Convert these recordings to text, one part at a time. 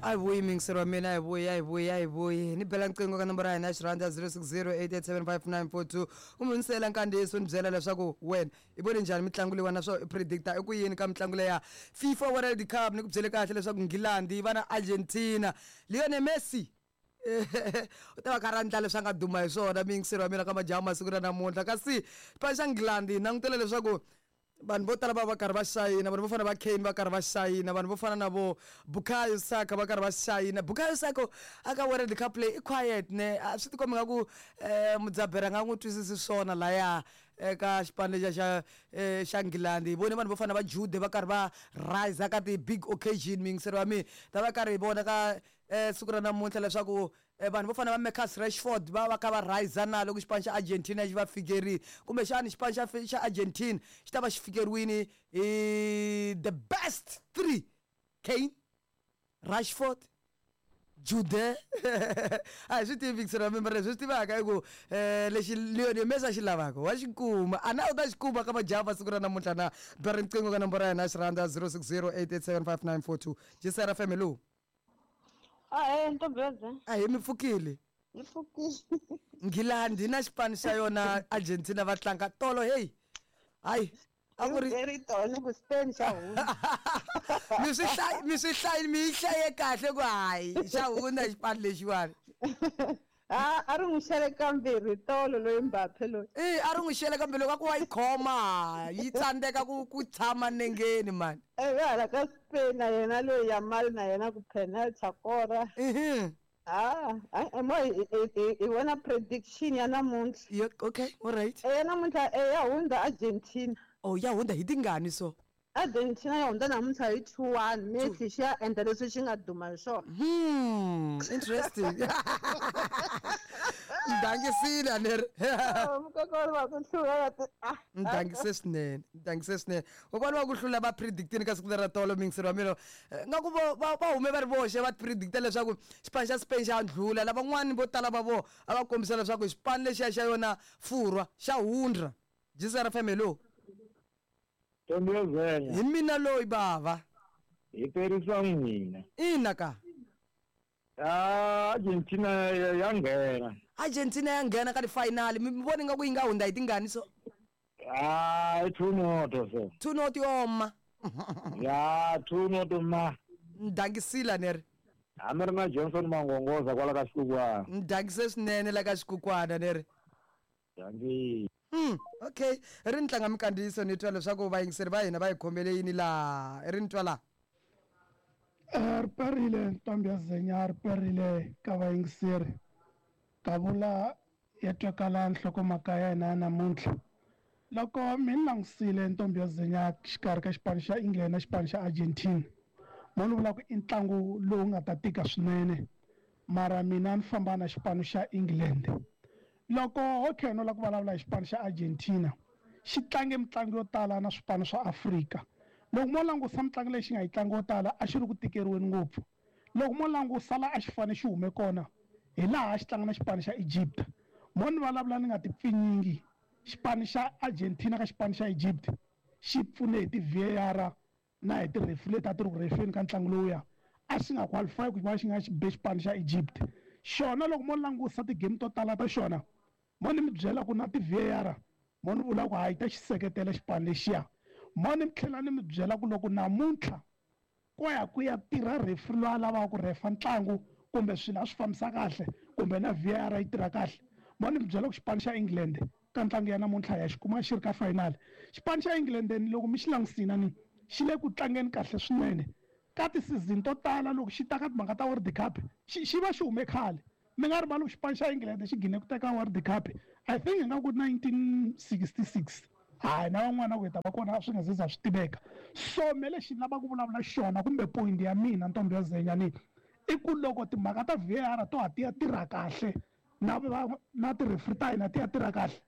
A hi vuyi muyingiseri wa mina, a hi vuyi, a hi vuyi, a hi vuyi. Ni bela nqingho ka nomboro ya hina ya xirhandza 0608875942 kumbe ni siyela nkandziyiso ni byela leswaku wena i vone njhani mitlangu leyiwani naswona i predicta i ku yini ka mitlangu leya FIFA World Cup. Ni ku byele kahle leswaku Nghilandhi yi va na Argentina, Lionel Messi u ta va kha ra ndla leswi a nga duma hi swona muyingiseri wa mina ka majaha masiku ra namuntlha. Kasi xipano xa Nghilandhi hi langutele leswaku vanhu vo tala va va karhi va xayina, vanhu vo fana va Kane va karhi va xayina, vanhu vo fana na vo Bukayo Saka va karhi va xayina. Bukayo Saka a ka World Cup leyi i quiet ne, a swi tikombi nga ku mudzaberi a nga n'wi twisisi swona laya eka xipano lexiya xa xa Nghilandhi. Hi vone vanhu vo fana na va Jude va karhi va rise ka ti-big occasion muyingiseri wa mina, ta va karhi hi vona ka siku ra namuntlha leswaku vanhu vo fana va Marcus Rashford va va kha va rhiza na loko xipano xa Argentina xi va fikerile. Kumbexani xipano xa xa Argentina xi ta va xi fikeriwile hi the best three, Kane, Rashford, Jude. A hi swi tivi Vixen wa mara leswi hi swi tivaka i ku lexi Lionel Messi a xi lavaka wa xi kuma. A na u ta xi kuma ka majaha masiku ra namuntlha na? Ba riqingho ka nomboro ya hina ya xirhandza 0608875942. Jisera FM, hello. Ahee, ntombeza. Ahee, mi pfukile? Hi pfukile. Nghilandhi na xipano xa yona Argentina va tlanga tolo hey. Hayi, a ku ri ri tolo ku Spain xa hundza. Mi swi hlayi, mi swi hlayi, mi yi hlaye kahle ku hayi xa hundza xipano lexiwani. A a ri n'wi xele kambirhi tolo loyi Mbappe loyi. E a ri n'wi xele kambirhi loko a ku wa yi khoma yi tsandzeka ku ku tshama nengeni mani. Ivi hala ka Spain na yena loyi Yamal na yena ku penalty a kora. Ha a mo hi hi vona prediction ya namuntlha. Yo, okay, all right. E ya namuntlha e ya hundza Argentina. Oh, ya hundza hi tingani so? Argentina ya hundza namuntlha hi 2-1. Messi xi ya endla leswi xi nga duma hi swona. Interesting. Ndhangisile a ni ri. Oh, mukokori wa ku hlula va ti ah. Ndhangise swinene, ndhangise swinene. Kokwana wa ku hlula va predictini ka siku lera tolo muyingiseri wa mina. Nga ku vo va va hume va ri voxe va predicta leswaku xipano xa Spain xa ndlhula. Lavan'wani vo tala va vona a va kombisa leswaku xipano lexiya xa yona Furwa xa hundra. Jisara FM, hello. Ntombi yo zenya. Hi mina loyi bava. Hi perisa n'wina. Ina ka. Ah, Argentina ya nghena. Argentina ya nghena ka ti-final. Mi vona ingaku yi nga hundza hi tingani so? Ah, i two noto so. Two noto yo ma. Ya, two noto ma. Ndhangisile ni ri. Hambi ri na Johnson Mangongoza kwala ka Xikukwana. Ndhangise swinene la ka Xikukwana ni ri. Dankie. Okay, ri ni tlanga minkandziyiso ni twa leswaku vayingiseri va hina va yi khomele yini laha. Ri ni twa laha. Ri perile ntombi ya Zenya, ri perile ka vayingiseri. Kavula ya twakala nhlokomhaka ya hina ya namuntlha. Loko mi ni langusile ntombi ya Zenya xikarhi ka xipano xa England na xipano xa Argentina, mo ni vula ku i ntlangu lowu nga ta tika swinene, mara mina ni famba na xipano xa England. Loko ho khe no la ku vulavula hi xipano xa Argentina, xi tlange mitlangu yo tala na swipano swa Afrika. Loko mo langusa mitlangu leyi xi nga yi tlanga yo tala a xi ri ku tikeriweni ngopfu. Loko mo langusa la a xi fane xi hume kona hi laha a xi tlanga na xipano xa Egypt. Mo ni vulavula ni nga ti pfinyingi, xipano xa Argentina ka xipano xa Egypt xi pfune hi ti-VAR na hi ti-referee leti a ti ri ku refeni ka ntlangu lowuya, a xi nga qualify ku va xi nga xi be xipano xa Egypt. Xona loko mo langusa ti-game to tala ta xona, mo ni mi byela ku na ti-V_A_R mo ni vula ku hayi ta xi seketela xipano lexiya. Mo ni tlhela ni mi byela ku loko namuntlha ko ya ku ya tirha referee loyi a lavaka ku refa ntlangu kumbe swilo a swi fambisa kahle kumbe na V_A_R yi tirha kahle, mo ni mi byela ku xipano xa England ka ntlangu ya namuntlha ya xi kuma xi ri ka final. Xipano xa England loko mi xi langusina ni xi le ku tlangeni kahle swinene ka ti-season to tala loko xi ta ka timhaka ta World Cup xi xi va xi hume khale. Mi nga rivali ku xipano xa England xi gine ku teka World Cup I think ingaku 1966 hayi na van'wana ku hi ta va kona a swi nga ze za swi tiveka. So me lexi ni lavaka ku vulavula xona kumbe point ya mina ntombi ya Zenya ni i ku loko timhaka ta V_A_R to ha ti ya tirha kahle na va na ti-referee ta hina ti ya tirha kahle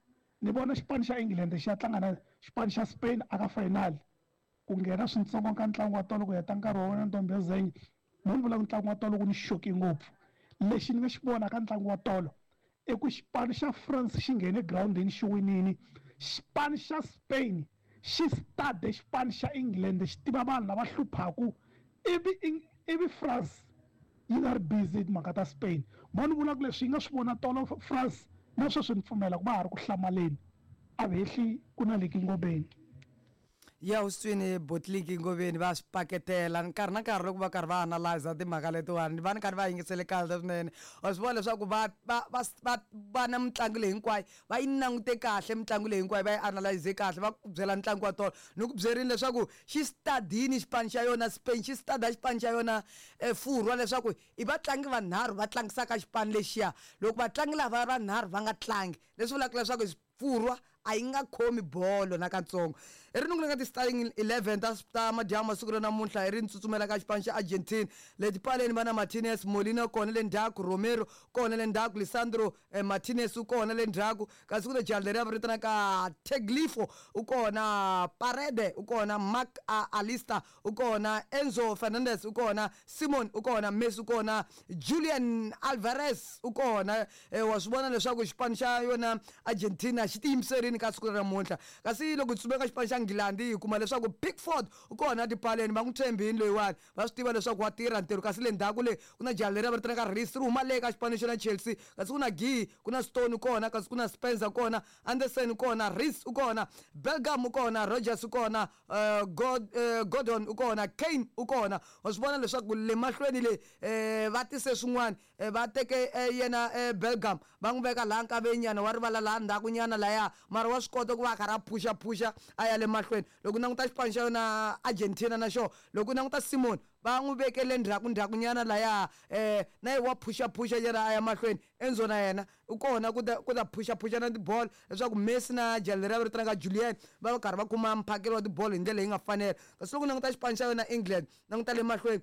ni vona xipano xa England xi ya tlanga na xipano xa Spain aka final ku nghena swintsongo ka ntlangu wa tolo ku heta nkarhi wa wena ntombi ya Zenya mo ni vula ku ntlangu wa tolo ku ni xoke ngopfu lexi ni nga xi vona ka ntlangu wa tolo i ku xipano xa France xi nghene girawundini xi winini xipano xa Spain xi stade xipano xa England xi tiva vanhu lava hluphaku ivi ivi France. Yi nga ri busy hi timhaka ta Spain. Mo ni vula ku leswi yi nga swi vona tolo France na sweswi ni pfumela ku va ha ri ku hlamaleni. A vehli ku na Liki Ngobeni. Ya u swi twini Botliki Ngoveni va swi paketela nkarhi na nkarhi loko va karhi va analyza timhaka letiwani va ni karhi va yingisele kahle swinene. Wa swi vona leswaku va va va va va na mitlangu leyi hinkwayo va yi langute kahle mitlangu leyi hinkwayo va yi analyze kahle va ku byela ntlangu wa tolo ni ku byerini leswaku xi stadini xipano xa yona Spain xi stada xipano xa yona Furwa leswaku i vatlangi vanharhu va tlangisaka xipano lexiya loko vatlangi lava vanharhu va nga tlangi leswi vulaka leswaku Furwa a yi nga khomi bolo nakatsongo. I ri ni nga ti-starting 11 ta madyambu masiku ra namuntlha i ri ni tsutsumela ka xipano xa Argentina. Le tipaleni va na Martinez, Molina kona le ndzhaku, Romero kona le ndzhaku, Lisandro Martinez u kona le ndzhaku, kasi ku na jaha leriya va vitanaka Tagliafo u kona, Parede u kona, Marc Alista u kona, Enzo Fernandez u kona, Simon u kona, Messi u kona, Julian Alvarez u kona. Wa swi vona leswaku xipano xa yona Argentina xi tiyimiserile ka siku ra namuntlha. Kasi loko hi tsutsuma eka xipano xa Nghilandhi hi kuma leswaku Pickford u kona etipaleni, va n'wi tshembile loyiwani, va swi tiva leswaku wa tirha ntirho. Kasi le ndzhaku le ku na jaha leriya va vitanaka Reece ri huma le ka xipano xa Chelsea. Kasi ku na Guehi, ku na Stone kona, kasi ku na Spencer kona, Anderson u kona, Reece u kona, Bellingham u kona, Rogers u kona, Gordon u kona, Kane u kona. Wa swi vona leswaku le mahlweni le va tise swin'wana, va teke yena Bellingham va n'wi veka laha nkaveni nyana wa rivala laha ndzhaku nyana laya, mara wa swi kota ku va a karhi a phushaphusha a ya le mahlweni. Loko u languta xipano xa yona Argentina na xona, loko u languta Simon va n'wi veke le ndzhaku ndzhaku nyana laya, na yena wa phushaphusha nyana a ya mahlweni. Enzo na yena u kona ku ta ku ta phushaphusha na tibolo leswaku Messi na jaha leriya va vitanaka Julian va va karhi va kuma mphakelo wa tibolo hi ndlela leyi nga fanela. Kasi loko u languta xipano xa yona England, languta le mahlweni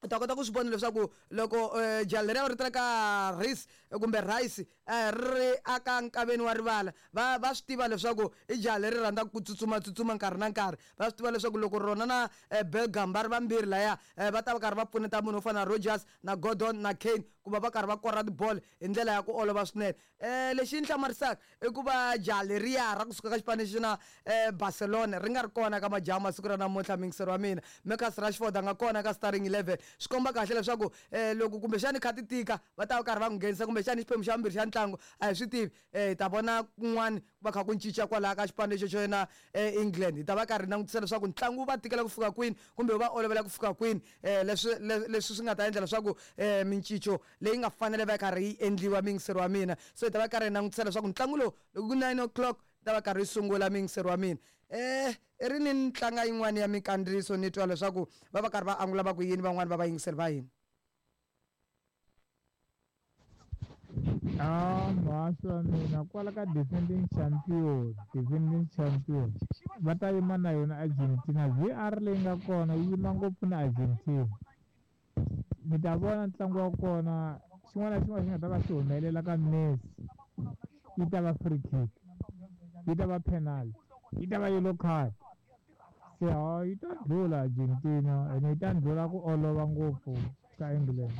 u ta kota ku swi vona leswaku loko jaha leriya va vitanaka Reece kumbe Rice ri ri aka nkaveni wa rivala va va swi tiva leswaku i jaha leri rhandzaka ku tsutsuma tsutsuma nkarhi na nkarhi. Va swi tiva leswaku loko rona na Bellingham va ri vambirhi laya va ta va karhi va pfuneta munhu wo fana na Rogers na Gordon na Kane ku va va karhi va kora tibolo hi ndlela ya ku olova swinene. Lexi ni hlamarisaka i ku va jaha leriya ra kusuka ka xipano lexi na Barcelona ri nga ri kona ka majaha masiku ra namuntlha muyingiseri wa mina Marcus Rashford a nga kona ka starting 11 swi komba kahle leswaku loko kumbexani kha ti tika va ta va karhi va n'wi nghenisa kumbexani xiphemu xa vumbirhi xa ntlangu a hi swi tivi hi ta vona kun'wana ku va kha ku cinca kwalaya ka xipano lexo xo na England hi ta va karhi langutisa leswaku ntlangu wu va tikela ku fika kwini kumbe wu va olovela ku fika kwini leswi leswi swi nga ta endla leswaku mincico leyi nga fanele va karhi yi endliwa muyingiseri wa mina. So hi ta va karhi hi langutisa leswaku ntlangu lowu loko ku 9 o'clock ta va karhi yi sungula muyingiseri wa mina. I ri ni tlanga yin'wana ya minkandziyiso ni twa leswaku va va karhi va angula va ku yini van'wani va vayingiseri va hina. Ah, muhaxi wa mina kwala ka defending champion, defending champion va ta yima na yona Argentina. V_R leyi nga kona yi yima ngopfu na Argentina. Mi ta vona ntlangu wa kona xin'wana na xin'wana xi nga ta va xi humelela ka Messi yi ta va free kick, yi ta va penalty, yi ta va yellow card. Se ha yi ta ndlhula Argentina ene yi ta ndlhula ku olova ngopfu ka England.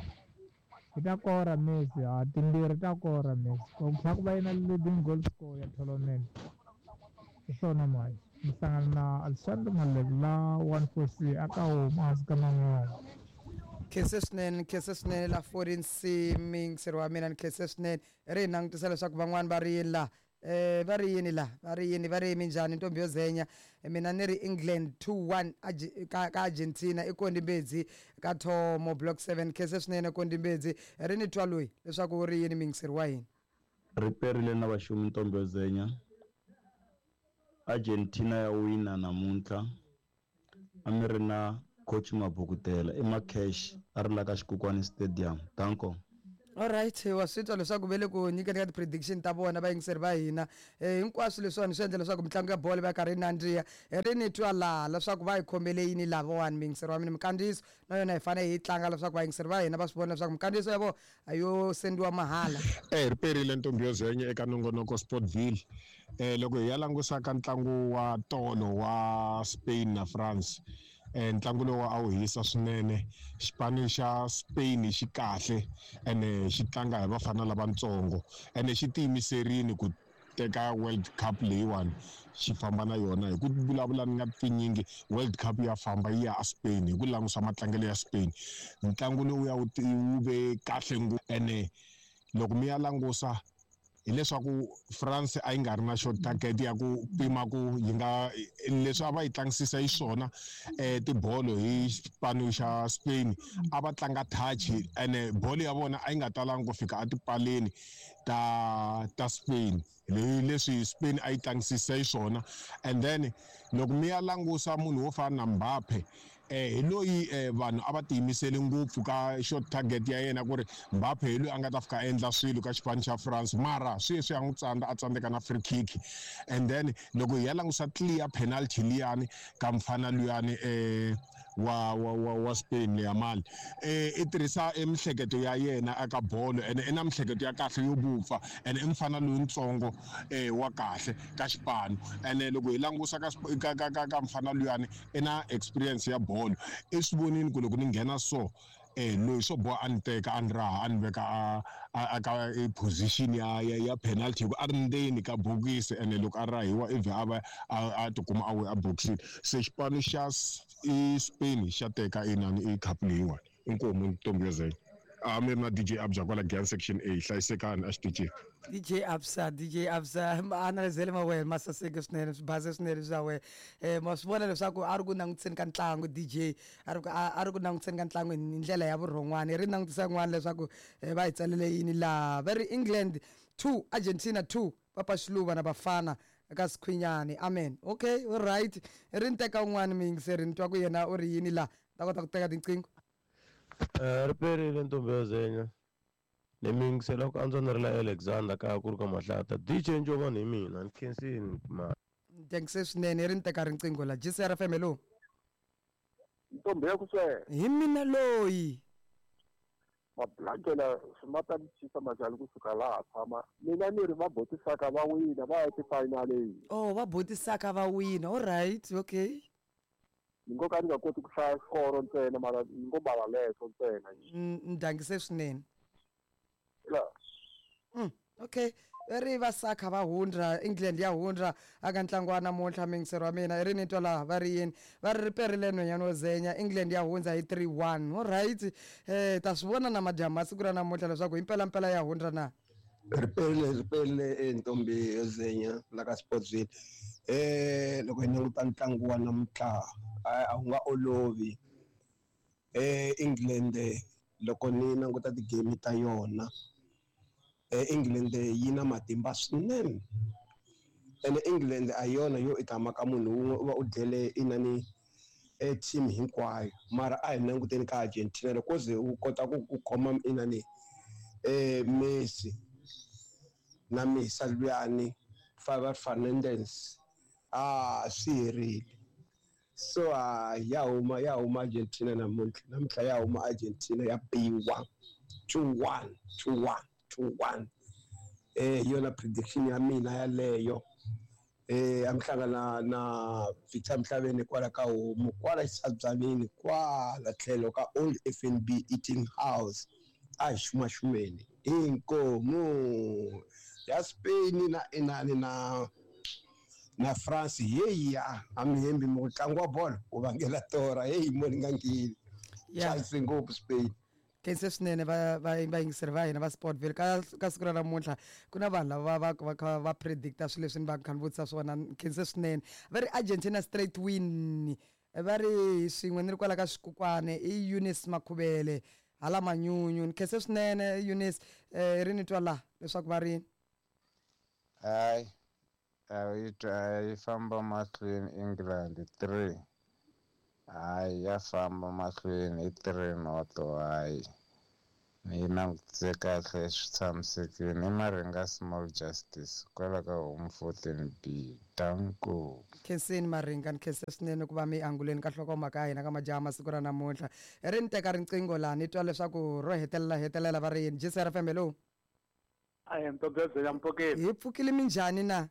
Yi ta kora Messi, ha timbirhi ta kora Messi. Ku tlhela ku va yena leading goal scorer ya tournament. Hi swona mhani mi hlangana na Alexander Malebula 14C aka huma hansi ka man'wana. Khense swinene, khense swinene la 14C muyingiseri wa mina, ni khense swinene. Ri hi langutisa leswaku van'wani va ri yini laha va ri yini la va ri yini va ri minjhani ntombi yo zenya mina ni ri England 2-1 ka Argentina i Kondi Mbedzi ka Thomo block 7. Khense swinene Kondi Mbedzi, ri ni twa loyi leswaku u ri yini muyingiseri wa hina. Ri perile na vaxumi ntombi yo zenya. Argentina ya wina namuntlha. A mi ri na coach Mabukutela i Macash a ri la ka Xikukwani Stadium. Danko. Alright, wa swi twa leswaku ve le ku nyikeni ka ti-prediction ta vona vayingiseri va hina. Hinkwaswo leswiwani swi endla leswaku mitlangu ya bolo va karhi yi nandziha. Ri ni twa laha leswaku va hi khomele yini lavawani muyingiseri wa mina. Minkandziyiso na yona hi fanele hi yi tlanga leswaku vayingiseri va hina va swi vona leswaku minkandziyiso ya vona a yo sendiwa mahala. Ri perile ntombi yo zenya eka nongonoko Sportville. Loko hi ya langusa ka ntlangu wa tolo wa Spain na France, ntlangu lowu a wu hisa swinene. Xipano xa Spain xi kahle ene xi tlanga hi vafana lavatsongo ene xi tiyimiserile ku teka World Cup leyiwani xi famba na yona. Hi ku vulavula ni nga tinyingi, World Cup ya famba yi ya a Spain hi ku langusa matlangelo ya Spain. Ntlangu lowuya wu wu ve kahle ngopfu, ene loko mi ya langusa hileswaku France a yi nga ri na short target ya ku pima ku yi nga leswi a va yi tlangisisa hi swona tibolo hi xipano xa Spain, a va tlanga touch, ene bolo ya vona a yi nga talangi ku fika etipaleni ta Spain, leswi Spain a yi tlangisisa hi swona. And then loko mi ya langusa munhu wo fana na Mbappe, hi loyi vanhu a va tiyimisele ngopfu ka short target ya yena, ku ri Mbappe hi loyi a nga ta fika a endla swilo ka xipano xa France, mara sweswi ya n'wi tsandza, a tsandzeka na free kick. And then loko hi ya langusa clear penalty liyani ka mfana luyani wa Spain, Yamal, i tirhisa emihleketo ya yena eka bolo, ene i na mihleketo ya kahle yo vupfa, ene i mfana lowuntsongo wa kahle ka xipano. Ene loko hi langusa ka mfana luyani, i na experience ya bolo, i swi vonini ku loko ni nghena so, loyi swo boha a ni teka, a ni raha, a ni veka a ka position ya penalty, hi ku a ri ndzeni ka bokisi, ene loko a rahiwa ivi a va a tikuma a we a bokisini. Se xipano xa Spain xa teka inani i cup leyiwani. Inkomu, ntombi yo zenya. A mi ri na DJ Abza kwala Giyani Section A. Hlayisekani exitichini. DJ Absa, DJ Absa, maanalizele ma wena ma saseke swinene, swi base swinene swa wena. Ma swi vona leswaku a ri ku langutiseni ka ntlangu, DJ a ri ku langutiseni ka ntlangu hi ndlela ya vurhon'wana. Ri langutisa kun'wana leswaku va hi tsalele yini laha. Va ri England 2, Argentina 2, Papa Xiluva na Bafana ka Sikhwinyani. Amen. Okay, all right, ri ni teka un'wana muyingiseri, ni twa ku yena u ri yini laha, ta kota ku teka tinqingho. Ri perile, ntombi yo zenya, ni mi yingisela ku antswa. Ni ri la Alexander kaya ku ri ka mahlata. DJ Njovani hi mina, ni khensini ma. Thankse swinene. Ri ni teka riqingho la. GCR FM, hello. Ntombi ya ku swela. Hi mina loyi. Mablangela swi ma ta ni chisa majali kusuka laha tshama mina, ni ri va botisaka va wina, va ya tifinaleni. Oh, va botisaka va wina. All right, okay. Ni ngo ka ni nga koti ku hlaya xikoro ntsena, mara ni ngo bala leswo ntsena. Ndangise swinene. La. Okay, ri va Saka va hundra, England ya hundra aka ntlangu wa namuntlha. Mingisero wa mina, i ri ni twa laha va ri yini. Va ri riperile nhwenyana wo zenya, England ya hundza hi 3-1. Alright, ta swi vona na madyambu ma siku ra namuntlha leswaku hi mpelampela ya hundra na. Riperile, riperile, ntombi yo zenya la ka Sportsville. Loko hi languta ntlangu wa namuntlha, a wu nga olovi. England, loko ni languta ti-game ta yona, England yi na matimba swinene, ene England a yona yo i tama ka munhu wun'we u va u dlele inani e team hinkwayo. Mara a hi languteni ka Argentina, loko ze u kota ku khoma inani Messi na Messi luyani Faber Fernandez, a swi herile. So a ya huma, ya huma Argentina namuntlha, namuntlha ya huma Argentina, ya biwa 2-1, 2-1, 2-1. Hi yona prediction ya mina yaleyo. A mi hlangana na Victor Mhlabeni kwala ka homu kwala xitshabyanini kwala tlhelo ka Old FNB Eating House, a hi xumaxumeni. Inkomu ya Spain na inani na France yeya, a mi hembi mi ku ntlangu wa bolo wu vangela tora heyi mo ni nga ngheni. Chance ngopfu Spain. Khense swinene va vayingiseri va hina va Sportville ka siku ra namuntlha. Ku na vanhu lava va kha va predicta swilo leswi ni va kha ni vutisa swona. Khense swinene. Va ri Argentina straight win, va ri swin'we ni ri kwala ka Swikukwane, i Eunice Makhuvele hala Manyunyu. Ni khense swinene, Eunice. Ri ni twa laha leswaku va ri Hayi, a yi twa yi famba mahlweni England 3. Hayi, ya famba mahlweni hi 3-0. Hayi, ni yi langutise kahle, swi tshamisekile. I Maringa Small Justice kwala ka Home 14B. Danko. Khenseni Maringa, ni khense swinene ku va mi anguleni ka nhlokomhaka ya hina ka majaha masiku ra namuntlha. Ri ni teka riqingho laha, ni twa leswaku ro hetelela hetelela va ri yini. GCR FM, hello. Ayi, ntombi ya mpfukeni. Hi pfukile, minjhani na?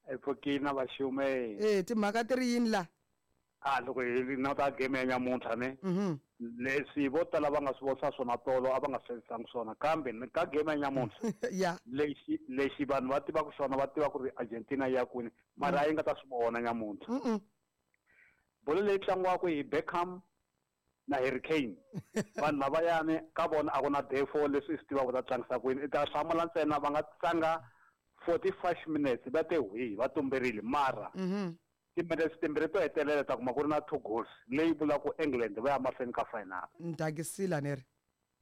Hi pfukile na vaxume. E timhaka ti ri yini la? A loko hi languta game ya nyamuntlha ne. Leswi vo tala va nga swi vonisa swona tolo a va nga swi endlisangi swona, kambe ka game ya nyamuntlha lexi vanhu va tivaka xona, va tiva ku ri Argentina ya kwini, mara a yi nga ta swi vona nyamuntlha. Bolo leyi tlangiwaka hi Beckham na Harry Kane, vanhu lavayani ka vona a ku na defo leswi i swi tivaka ta tlangisa kwini. I ta hlamula ntsena va nga tlanga 45 minutes va te hwi va tumberile, mara timinutes timbirhi to hetelela ta kuma ku ri na 2 goals leyi vulaka ku England va ya mahlweni ka final. Ndakisila neri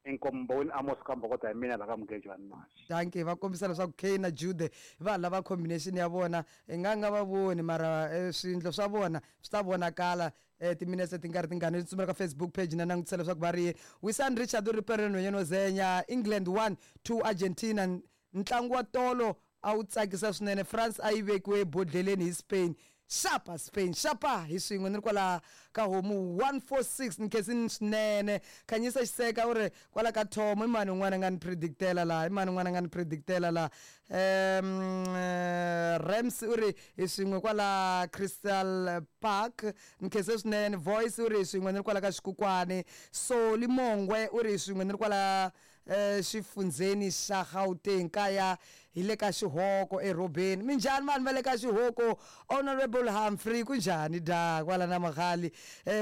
Inkombo wini Amos Kambokota hi mina la ka Mugejwana Mashi. Dankie, va kombisa leswaku Kane na Jude va lava combination ya vona i nga nga va voni, mara swindlo swa vona swi ta vonakala timinetse ti nga ri tingani. Ni tsumbela ka Facebook page na langutisa leswaku va ri yini. Wisan Richard u ri Perel nhwanyana wo zenya England 1-2 Argentina. Ntlangu wa tolo a wu tsakisa swinene, France a yi vekiwe ebodleleni hi Spain. Xapa Spain, xapa hi swin'we ni ri kwala ka homu 146 ni khensini swinene. Khanyisa Xiseka u ri kwala ka Tom, i mani un'wana a nga ni predictela laha, i mani un'wana a nga ni predictela laha. Rams u ri hi swin'we kwala Crystal Park, ni khense swinene. Voice u ri hi swin'we ni ri kwala ka Xikukwani. Soli Mongwe u ri hi swin'we ni ri kwala xifundzheni xa Gauteng, kaya hi le ka Xihoko erobeni. Minjhani vanhu va le ka Xihoko? Honorable Humphrey kunjhani da kwala na Maghali?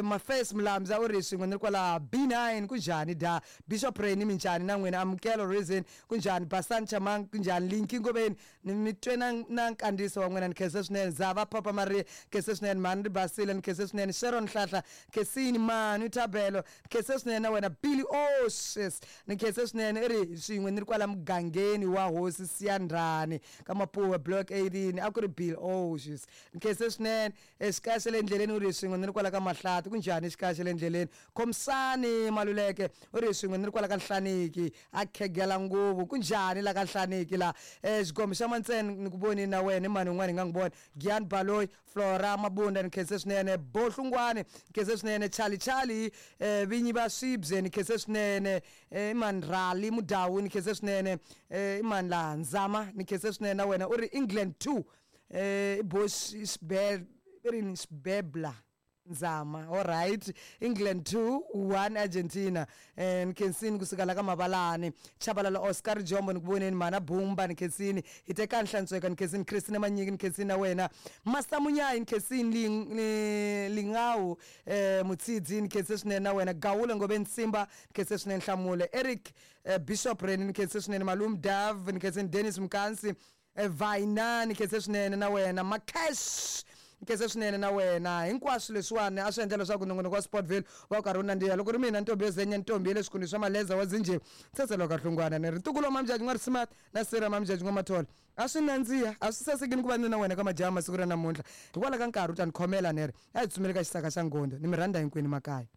Mafes Mlamza u ri swin'we ni ri kwala B9 kunjhani da? Bishop Reni minjhani na n'wina? Amukelo Reason kunjhani? Basan Chamang kunjhani? Linki Ngobeni ni mi twe na nkandziyiso wa n'wina, ni khense swinene. Zava Papa Maria khense swinene. Mhani ri basile ni khense swinene. Sharon Hlahla khensini. Manu Thabelo khense swinene na wena. Billy Oshes ni khense swinene. I ri swin'we ni ri kwala mugangeni wa hosi Siyandhani ka Mapuwe block 18, a ku ri Bill Oshes ni khense swinene. Xikaya xa le ndleleni u ri swin'we ni ri kwala ka Mahlati, kunjhani xikaya xa le ndleleni? Khomisani Maluleke u ri swin'we ni ri kwala ka Nhlaniki, a khegela nguvu, kunjhani la ka Nhlaniki la? Xigomo xa Mantsene ni ku vonini na wena, i mani un'wana hi nga n'wi vona? Gian Baloyi, Flora Mabunda ni khense swinene. Bohlungwani ni khense swinene. Charlie Charlie vinyi va swibye ni khense swinene. I mani Rali Mudawu ni khense swinene. I mani la Nzama ni khense swinene na wena. U ri England 2 i Bosh rini Xibebla Nzama. All right, England 2-1 Argentina. Ni khensini kusuka la ka Mavalani. Chabalala Oscar Jombo ni ku voneni. Mana Bumba ni khensini. Hitekani Hlantsweka ni khensini. Christina Manyiki ni khensini na wena. Master Munyayi ni khensini. Lingawu Mutsidzi ni khense swinene na wena. Gawula Ngobeni Simba ni khense swinene. Hlamule Eric Bishop Reni ni khense swinene. Malum Dav ni khensini. Dennis Mkansi Vaina ni khense swinene na wena. Macash khense swinene na wena. Hinkwaswo leswiwani a swi endla leswaku nongonoko wa Sportville wa karhi wu nandziha. Loko ri mina ntombi yo zenya, ntombi ya le swikundu swa Maleza wa Zinjhe, tsetselo ka Hlungwana ni ri ntukulu wa Mamjaji n'wa Risimati na Sira Mamjaji n'wa Mathole. A swi nandziha, a swi sasekini ku va ni na wena ka majaha masiku ra namuntlha. Hikwalaho ka nkarhi u ta ni khomela ni ri a hi tsutsumeli ka xisaka xa Ngondo. Ni mi rhandza hinkwenu makaya.